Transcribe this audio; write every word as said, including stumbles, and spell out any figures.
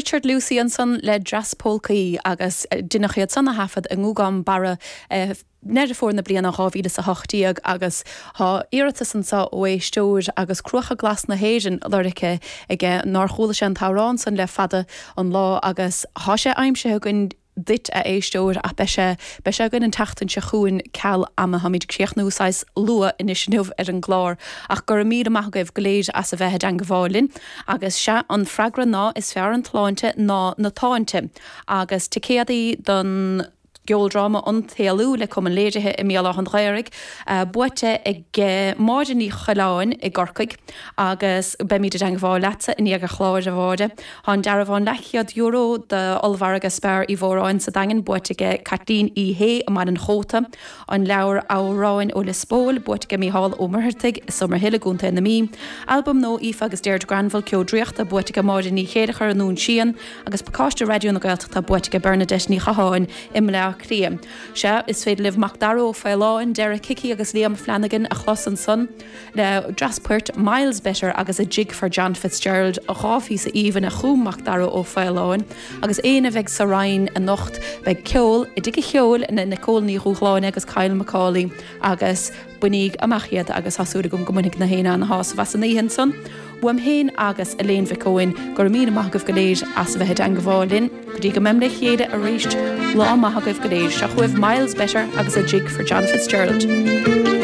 Richard Lucey ansan le Dreas Pólcaí agus deineadh iad san a thaifead i nGúgam Barra eh, Deireadh Fómhair na bliana dhá mhíle is a hocht déag agus tá iarratas anseo ó éisteoir agus Cruacha Glas na hÉireann lorgtha aige nár chuala sé an t-amhrán san le fada an lá agus tá sé aimsithe againn duit a éisteoir ach beidh sé beidh sé againn an tseachtain seo chugainn ceal ama táimid ag críochnú saghas luath anois inniu ar an gclár ach go raibh míle maith agaibh go léir as a bheith i dteangmháil linn agus sea an freagra ná is fearr an tsláinte ná na táinte agus ticéadaí don gceoldráma An tÉalú le Cumann Léirithe i mBéal Átha an Ghaorthaidh, buaite ag Máire Ní Choileáin i gCorcaigh agus beimid i dteangmháil leatsa i ndiaidh an chláir, a Mháire. Tá an dearbhán leathchéad euro d'ollmhargadh Spar Uí Mhóráin sa Daingean buaite aige Caitlín Uí Shé i mBaile an Chóta, an leabhar Amhráin ó Lios Póil buaite aige Mícheál Ó Muircheartaigh i Summerhill i gContae na Mí, albam nua Aoife agus Deirdre Granville, Ceo Draíochta, buaite aige Máire Ní Chéileachair i nDún Síon agus pacáiste Raidió na Gaeltachta buaite aige Bernadette Ní Chatháin i mBleá Cliath. Sea, is féidir libh Macdara Ó Faoláin, Derek Hickey agus Liam Flanagan a chlos ansan le dreas poirt Miles Better agus A Jig for John Fitzgerald, dhá phíosa aoibhinn a chum Macdara Ó Faoláin. Agus éinne a bheidh sa Rinn anocht, beidh ceol i dTigh an Cheoil le Nicole Ní Dhúshláine agus Kyle McCauley agus bainíg amach iad agus tá súil agam go mbainfidh na héinne ana-shásamh as an oíche ansan. Uaim féin agus Elaine Mhic Eoin, go raibh míle maith agaibh go léir as a bheith i dteangmháil linn. Go dtí go mbeimid le chéile arís, lá maith agaibh go léir. Seo chugaibh Miles Better agus A Jig for John Fitzgerald.